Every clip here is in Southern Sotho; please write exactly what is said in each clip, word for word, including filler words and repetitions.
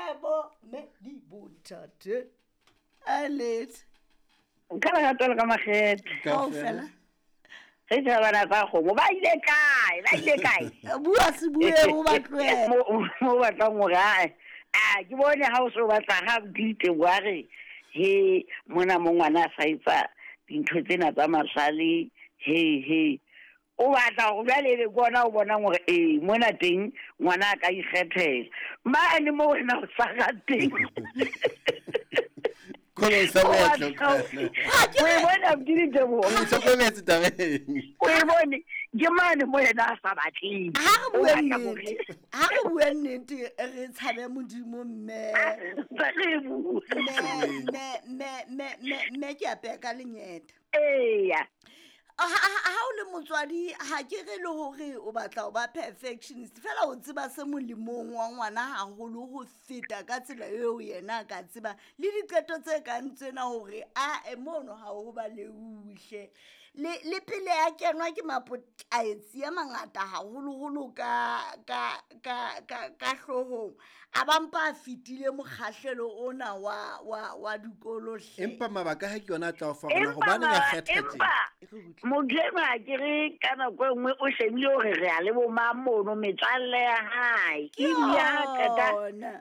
kae bo mme le bontate? A lete. Nka lerato le ka makgethe. Kaofela. Ge tšhabana tsa kgomo ba ile kae? Ba ile kae? Bua se bue o ba tlohele. Mo mo batlang hore ae. A ke bone ha o so batla ha dite wa re he mona mo ngwana a sa etsa dintho tsena tsa masale he he. O batla hore jwale ebe ke ona o bonang hore ee mona teng ngwana a ka ikgethela. Mane mo wena o sa rateng. Kolong sa O moetlo. batla O e bone abuti Diteboho? O itlhokometse tabeng. O e bone ke mane mo yena a sa batleng. Ha re O bue batla nnete. hore- Ha re bue nnete re tshabe Modimo mme. Tsa re bue. Mme mme mme mme mme mme ke a peha ka lenyeta. Eya. Ha ha- ha o le motswadi ha ke re le hore o batla ho ba perfectionist fela o tseba se molemong wa ngwana haholo ho feta ka tsela eo yena a ka tseba le diqeto tse kang tsena hore a e mono ha ho ba leuhle le le pele a kenwa ke mapotlaetsi a mangata haholoholo ka ka ka ka ka hloohong a ba mpa a fetile mokgahlelo ona wa wa wa dikolo hle. Empa mabaka ha ke yona a tla o fa hore Empa hobaneng a ma- kgetha tje. empa motho enwa ha ke re ka nako e nngwe o shebile hore re a le bo mang mono metswalle ya hae. Ke Ebile ha qeta yona.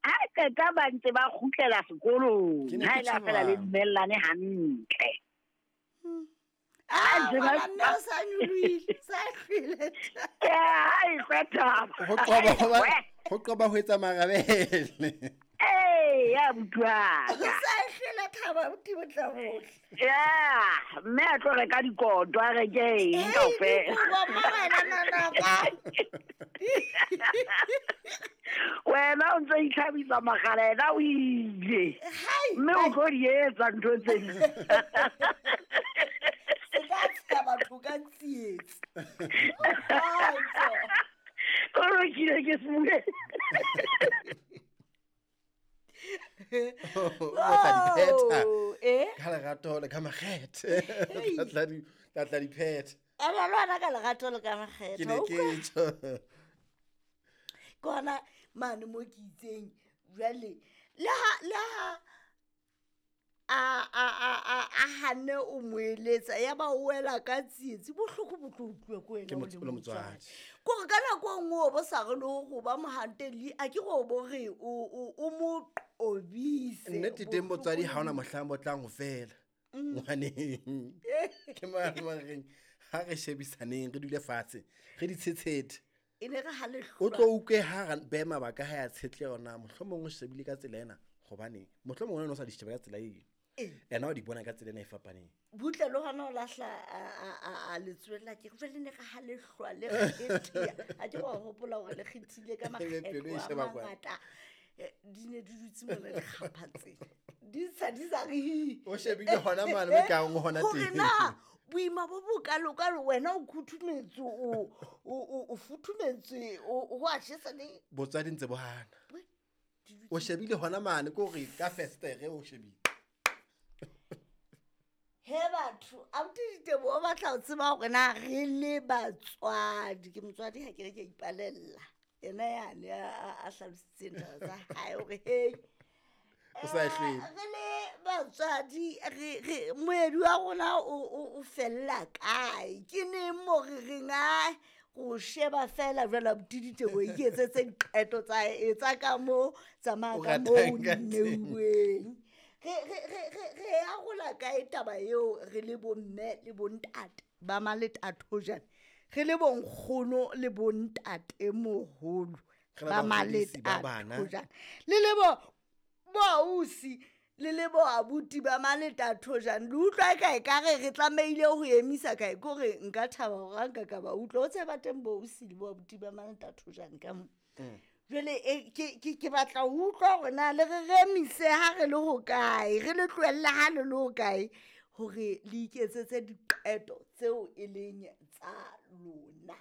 ha qeta ba ntse ba kgutlela sekolong. Ke ne Ha ke e le ha feela le tjho dumellane hantle. Ah, Ha ntse ba- ngwana mme o sa nyolohile, sa hlwele taba. Ya, ha e sa thaba. Ho qoba ho ba ho qoba ho etsa marabele. Ee, ya abuti wa O ka. sa hlwele thaba abuti bo tla bohle. Ya, mme a tlo reka dikoto, a reke eng Hei, kaofela. dikobo mma wena nanaka. Wena o ntso itlhabisa mogala, yena o ile. Hai, Mme o tlo di etsa ntho tsena. Se ka tsheha batho ka tsietsi. Kgotso. O lokile ke se bue. O tla di phetha. Oh, eh? Ka lerato le ka makgethe. Tla tla di tla tla di phetha. Ena le wena ka lerato le ka makgethe. Ke ne ke tjho. Ke hona mane mo ke itseng jwale le ha le ha a a a a a hanne o mo eletsa ya ba o wela ka tsietsi bohloko bo tlo utlwa ke wena Ke o motse- le o le motswadi. motswadi. Kore ka nako e nngwe o bo sa re le ho ba mohanteli a ke re o bo re o o o mo qobise. Nnete teng botswadi ha hona mohlang bo tlang ho fela. Ngwaneng. Ke mane mo re reng, ha re shebisaneng re dule fatshe, re di tshetshete. E ne re ha le O hlwa. tlo utlwe ha re beha mabaka ha ya tshetle yona, mohlomong o shebile ka tsela ena hobane mohlomong wena o sa di sheba ka tsela eo. Ee. Yena o di bona ka tsela ena e fapaneng. Butle le hona o lahla a a a a letswele la ke jwale ne re ha le hlwa le kgethea. Ha ke wa hopola hore le kgethile ka Ebe pelo e makgetlo a sheba kwana. mangata. Eh, di ne di dutse mona dikgapha tsena. Di sa di sa re hi. O shebile hona mane mo ekang o hona Hore teng. na boima bo bokalokalo wena o khuthumetse o o o o futhumetse o ho a jesa le Botswadi ntse bo hana. We, di dutse O shebile hona mane ke hore ka festere o shebile. He batho, abuti Diteboho o batla ho tseba hore na re le batswadi. Ke motswadi ha ke re ke a ipalella. Yena yane a, a, a hlalositseng taba tsa hae hore hei. O sa e hlwele. Eh, re le batswadi, re, re, moedi wa rona o, o, o fella kae? Ke neng mo re reng, ah, go sheba fela jwale abuti Diteboho iketsetse diqeto tsa hae, etsa ka moo, tsamaya O ka moo ratang ka teng. neuweng. Re, re, re, re, re arola kae taba eo re le bomme le bontate ba maletathojane? Re le bonkgono le bontatemoholo Re le ba bahodisi ba bana. maletathojane. Le le bo boausi le le bo abuti ba maletathojane. Le utlwa e kae ka re re tlamehile ho emisa kae? Ke hore nka thaba hore ha nka ka ba utlwa. O tseba teng boausi le bo abuti ba maletathojane ka mo. Mm. Jwale, e, ke, ke, ke batla ho utlwa hore na le re remise ha re le hokae, re le tlohelle ha le le hokae, hore le iketsetse diqeto tseo e leng tsa lona.